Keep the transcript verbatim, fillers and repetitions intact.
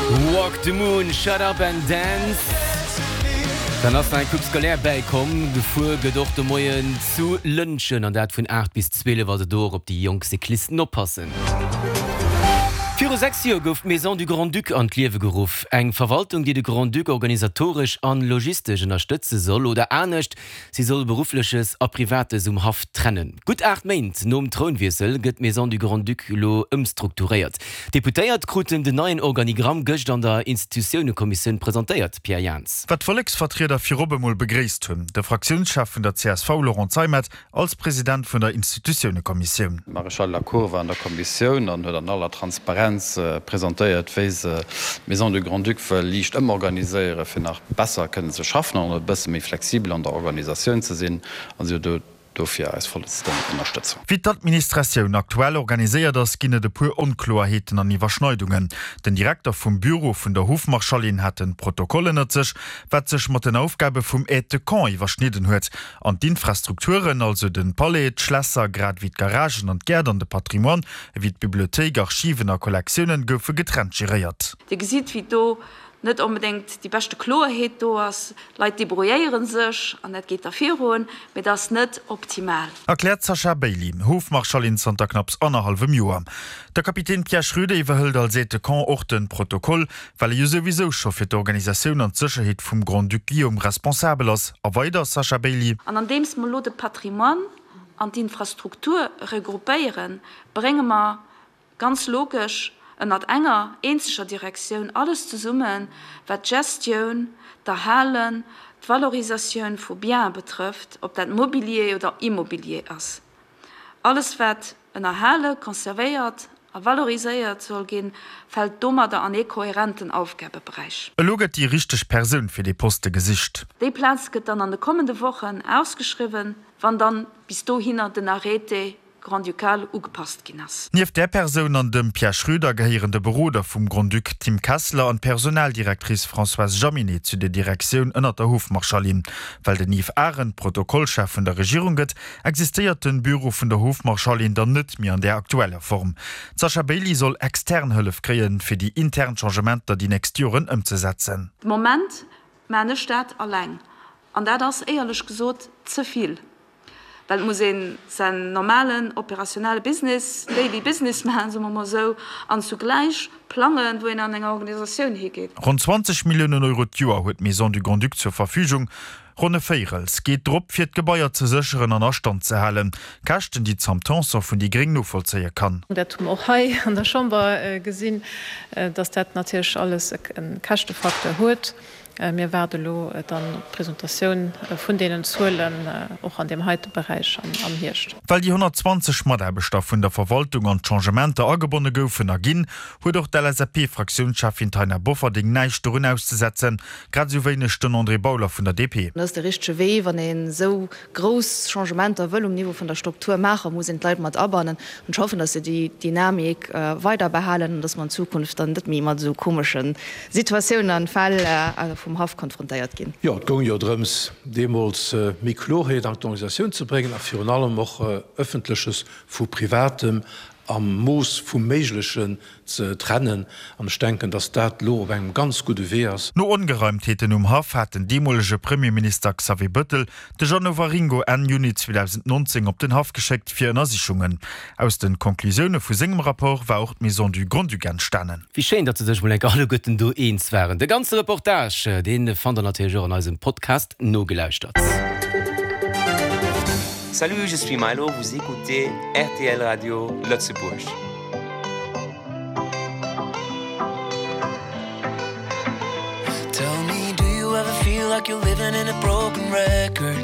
Walk the Moon, Shut Up and Dance. Dann ass nach eng Coupe scolaire bäikomm. Gefuer gëtt och de Moien zu Lëntgen an dat vun aacht bis zwielef, also do och op déi jonk Cyclisten oppassen. Viru sechs Joer gouf d'Maison du Grand-Duc an d'Liewe geruff. Eng Verwaltung, déi de Grand-Duc organisatoresch an logistesch ënnerstëtze soll. Oder anescht, si soll Beruffleches a Privates um Haff trennen. Gutt aacht Méint nom Trounwiessel gëtt d'Maison du Grand-Duc elo ëmstrukturéiert. D'Deputéiert kruten den neien Organigramm gëscht an der Institutiounekommissioun presentéiert. Pierre Jans. Wat d'Volleksvertrieder virop emol begréisst hunn, de Fraktiounschef vun der csv Laurent Zeimet als President vun der Institutiounekommissioun. D'Maréchale Lacour war an der Kommissioun an huet an aller Transparenz presentéiert, wéi se d'Maison du Grand-Duc wëll liicht ëmorganiséieren, fir nach besser kënnen ze schaffen an och e bësse méi flexibel an der Organisatioun ze sinn. A si huet dofir eis vollsten Ënnerstëtzung. Wéi d'Administratioun aktuell organiséiert ass, ginn et e puer Onkloerheeten an Iwwerschneidungen. Den Direkter vum Büro vun der Hofmarschallin hat de Protokoll ënnert sech, wat sech mat den Aufgabe vum Aide de camp iwwerschnidden huet. An d'Infrastrukturen, also de Palais, d'Schlässer, grad ewéi d'Garagen an d'Gäert an de Patrimoine, ewéi d'Bibliothéik, Archiven a Kollektiounen, goufe getrennt geréiert. Dir gesitt, wéi do net onbedéngt déi beschte Kloerheet do ass. D'Leit debrouilléiere sech an dat geet da virun, mee dat ass net optimal. Erkläert d'Sasha Bailey, Hofmarschallin zanter knapps annerhallwem Joer. De Kapitän Pierre Schröder iwwerhëlt als Aide de camp och de Protokoll, well e jo souwisou scho fir d'Organisatioun an d'Sécherheet vum Grand-Duc Guillaume responsabel ass. A weider Sasha Bailey. An andeems mer elo de Patrimoine an d'Infrastruktur regroupéieren, brénge mer ganz logesch ënnert enger eenzeger Direktioun alles zesummen, wat d'Gestioun, d'Erhalen, d'Valorisatioun vu Biene betrëfft, ob dat Mobilier oder Immobilier ass. Alles wat ënnerhale, conservéiert a valoriséiert soll ginn, fält domadder an ee kohärenten Aufgabeberäich. Elo gëtt déi richteg Persoun fir dee Poste gesicht. Déi Plaz gëtt dann an de kommende Wochen ausgeschriwwen, wann dann bis dohinner den Arrêté grand-ducal ugepasst ginn ass. Nieft där Persoun an dem Pierre Schröder gehéieren de Beroder vum Grand-Duc Tim Kessler an d'Personaldirectrice Françoise Jaminet zu der Direktioun ënnert der Hofmarschallin. Well den Yves Arendt Protokollchef vun der Regierung gëtt, existéiert de Büro vun der Hofmarschallin dann net méi an där aktueller Form. D'Sasha Bailey soll extern Hëllef kréien, fir déi intern Changementer déi nächst Joren ëmzesetzen. De Moment maan ech dat alleng, an dat ass éierlech gesot ze vill, well et muss een säin normalen operationelle Business, daily business maachen, soe mer mol esou, an zugläich plangen, wou een an enger Organisatioun higeet. Ronn zwanzeg Milliounen Euro d'Joer huet d'Maison du Grand-Duc zur Verfügung. Ronn e Véirels geet drop, fir d'Gebaier ze sécheren an a Stand ze halen. Käschten, déi d'Sam Tanson vun déi Gréng novollzéie kann. Dat hu mer och hei an der Chamber gesinn, dass dat natierlech alles e Käschtefacteur huet. Mir waarde elo dann op d'Presentatioun vun deenen Zuelen och an deem heite Beräich am Hierscht. Well déi honnertzwanzeg Mataarbechter vun der Verwaltung an d'Changementer agebonne goufen a ginn, huet och d'LSAP-Fraktiounscheffin Taina Bofferding näischt dorun auszesetzen, grad esou wéineg den André Bauler vun der D P. Dat ass de richtege Wee. Wann een esou grouss Changementer wëll um Niveau vun der Struktur maachen, muss een d'Leit mat abannen. An ech hoffen, datt se déi Dynamik weider behalen an datt mer an Zukunft dann net méi mat esou komesche Situatiounen an Fäll vum Haff konfrontéiert ginn. Jo, et goung jo drëms, deemools méi Kloerheet an d'Organisatioun ze bréngen a virun allem och Ëffentleches vu Privatem am Mooss vum Méiglechen ze trennen. An ech denken, datt dat elo op engem ganz gudde Wee ass. No Ongereimtheeten um Haff hat den deemolege Premierminister Xavier Bëttel de Jeannot Waringo Enn Juni zweedausendnonzéng op den Haff geschéckt fir Ënnersichungen. Aus de Conclusioune vu sengem Rapport war och d'Maison du Grand-Duc entstanen. Wéi schéin, datt se sech mol enker alleguerten do eens waren. De ganze Reportage, dee fannt der natierlech och an eisem Podcast nogelauschtert. Salut, je suis Milo, vous écoutez R T L Radio Lëtzebuerg. Tell me, do you ever feel like you're living in a broken record?